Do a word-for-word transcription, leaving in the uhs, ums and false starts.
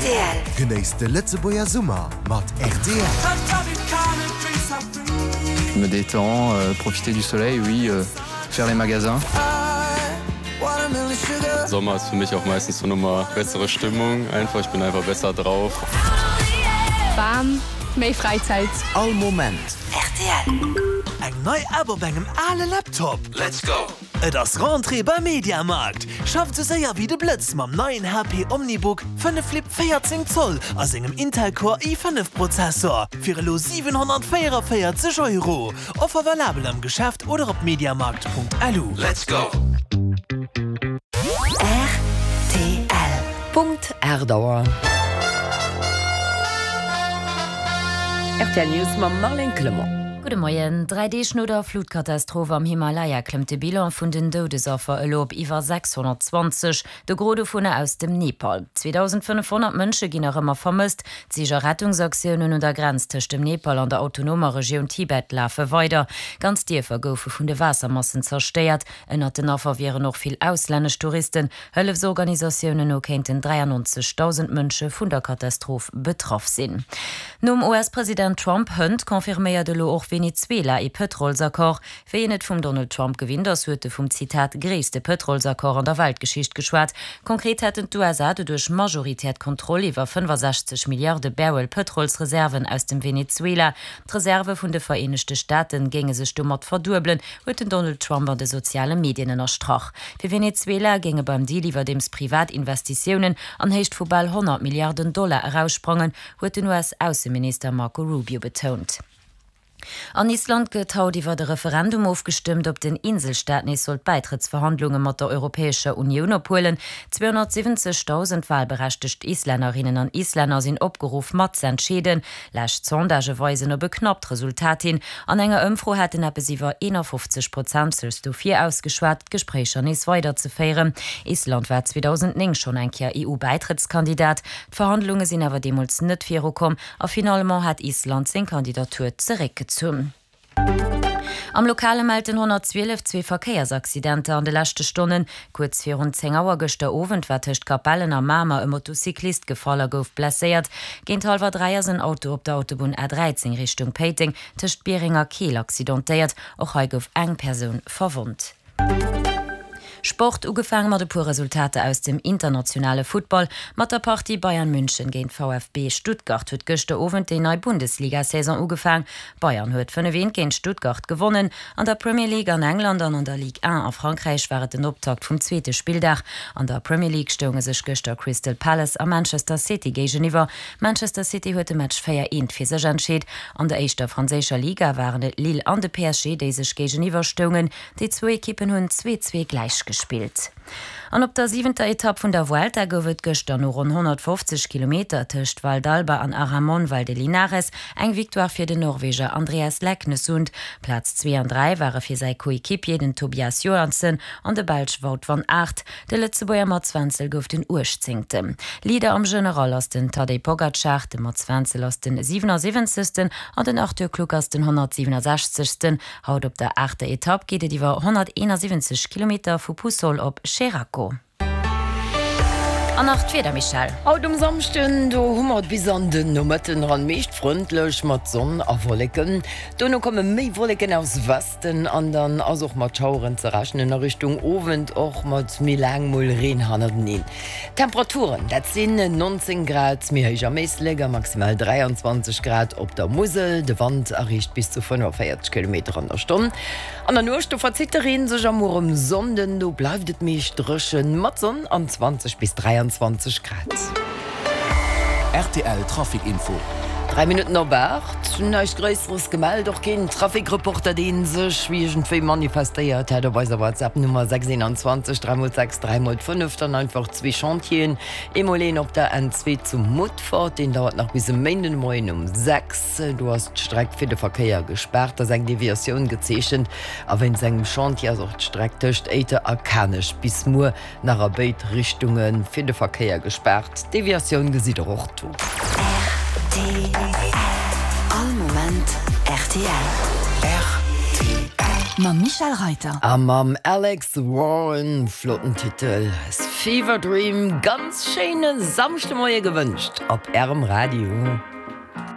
Rtl. Genéisst de Lëtzebuerger Summer mat rtl. Je me détends, euh, profiter du soleil, oui, euh, faire les magasins. Sommer ist für mich auch meistens so nochmal bessere Stimmung einfach. Ich bin einfach besser drauf. Bam, méi Fräizäit. All Moment. Rtl. Eng nei App op engem ale Laptop. Let's go! Et ass Rentrée beim Mediamarkt. Schafft sou séier wéi de Blëtz mam neien H P OmniBook fënnef Flip véierzéng Zoll a sengem Intel Core i fënnef Prozessor fir elo siwenhonnertvéierenvéierzeg Euro. Offer valabel am Geschäft oder op mediamarkt Punkt L U. Let's go! Rtl. Punkt aacht Auer. Rtl News mam Marlène Clement. Gudde Moien. Dräi Deeg no der Flutkatastroph am Himalaya klëmmt de Bilan vun den Doudesaffer elo op iwwer sechshonnertzwanzeg, de Gros dovunner aus dem Nepal. zweedausendfënnefhonnert Mënsche ginn nach ëmmer vermësst. D'Sich a Rettungsaktiounen un der Grenz tëscht dem Nepal an der autonomer Regioun Tibet lafe weider. Ganz Dierfer goufe vun de Waassermassen zerstéiert. Ënnert den Affer wieren och vill auslännesch Touristen. Hëllefsorganisatiounen no kéinten dräiannonzegdausend Mënsche vun der Katastroph betraff sinn. Nom U S-President Trump hënt confirméiert elo och Venezuela ee Pëtrolsaccord. Wéi een et vum Donald Trump gewinnt ass, huet e vum, Zitat, gréisste Pëtrolsaccord an der Weltgeschicht geschwat. Konkret hätten d'U S A doduerch majoritär d'Kontroll iwwer fënnefasechzeg Milliarde Barrel Pëtrolsreserven aus dem Venezuela. D'Reserve vun de Vereenegte Staate géinge sech domat verduebelen, huet den Donald Trump an de soziale Medien ënnerstrach. Fir Venezuela géinge beim Deal iwwerdeems privat Investitiounen an Héicht vu bal honnert Milliarden Dollar eraussprangen, huet den U S-Ausseminister Marco Rubio betount. An Island gëtt haut iwwer e Referendum ofgestëmmt, ob den Inselstaat nees soll d'Bäitrëttsverhandlunge mat der Europäescher Unioun ophuelen. Zweehonnertsiwwenzegdausend walberechtegt Islännerinnen an Islänner sinn opgeruff, mat z'entscheeden. Lescht Sondagë weisen op e knappt Resultat hin. An enger Ëmfro hätten eppes iwwer eenafofzeg Prozent sech dofir ausgeschwat, d'Gespréicher nees weiderzeféieren. Island war zweedausendnéng schonn eng Kéier E U-Bäitrëttskandidat. D'Verhandlunge sinn awer deemools net virukomm a finalement hat Island seng Kandidatur zeréckgezunn. Am Lokale mellt den honnertzwielef zwee Verkéiersaccidenter an de leschte Stonnen. Kuerz virun zéng Auer gëschter Owend war tëscht Capellen a Mamer e Motocyclist gefall a gouf blesséiert. Géint hallwer dräi ass en Auto op der Autobunn A dräizéng Richtung Péiteng tëscht Biereng a Keel accidentéiert. Och hei gouf eng Persoun verwonnt. Sport, Ugefaange mat e puer Resultater aus dem internationale Futtball. Mat der Partie Bayern München géint V F B Stuttgart huet gëschter Owend déi nei Bundesliga-Saison ugefaang. Bayern huet fënnef eent géint Stuttgart gewonnen. An der Premier League an England an an der Ligue un a Frankräich war et den Optakt vum zweete Spilldag. An der Premier League stounge sech gëschter Crystal Palace a Manchester City géigeniwwer. Manchester City huet de Match véier eent fir sech entscheet. An der éischter franséischer Liga waren et Lille an de P S G, déi sech géigeniwwer stoungen. Déi zwou Ekippen hunn zwee zwee gläich gespillt. An op der siwenter Etapp vun der Vuelta gouf et gëschter no ronn honnertfofzeg Kilometer tëscht Valdalba an Aramon Valdelinares eng Victoire fir den Norweger Andreas Leknessund. Plaz zwee an dräi ware fir säi Coequipier den Tobias Johansen an de Belsch Wout van Aert. De Lëtzebuerger Mats Wenzel gouf den Uechtzéngten. Leader am General ass den Tadej Pogacar, de Mats Wenzel ass den siwenasiwwenzegsten an den Arthur Kluck ass den honnertsiwenasechzegsten. Haut op der aachter Etapp geet et iwwer honnerteenasiwwenzeg Kilometer vu Puçol op Xeraco. An nach d'Wieder, Michèle. Haut um Samschden, do hu mer et bis an den Nomëtten eran meescht frëndlech mat Sonn a Wolleken. Dono komme méi Wolleken aus Westen an dann ass och mat Schaueren ze rechnen, a Richtung Owend och mat méi laang mol Reen hannerteneen. D'Temperaturen, dat sinn nonzéng Grad méi héich am Éislek a maximal dräianzwanzeg Grad op der Musel. De Wand erreecht bis zu fënnefenvéierzeg Kilometer an der Stonn. An der Nuecht, do verzitt de Reen sech a muer um Sonnden, do bleift et meescht dréchen mat Sonn an zwanzeg bis dräianzwanzeg Grad. R T L Trafic Info. Dräi Minutten op aacht, näischt Gréisseres gemellt, och keen Trafic-Reporter, dee sech iergendwéi manifestéiert hätt op eiser WhatsApp-Nummer sechs eenanzwanzeg dräi mol sechs dräi mol fënnef. Dann einfach zwee Chantieren, eemol een op der N zwee zu Mutfert, deen dauert nach bis e Méinden de Moien um sechs. Do ass d'Streck fir de Verkéier gespaart, ass eng Deviatioun gezeechent a wéinst engem Chantier ass och d'Streck tëscht Éiter a Kanech bis muer nach a béid Richtunge fir de Verkéier gespaart. D'Deviatioun gesitt der och do. R T L. All Moment R T L. R T L. Mam Michel Reiter. A mam Alex Warren, flotten Titel, Fever Dream, ganz schéine Samschdemoie gewënscht op Ärem Radio.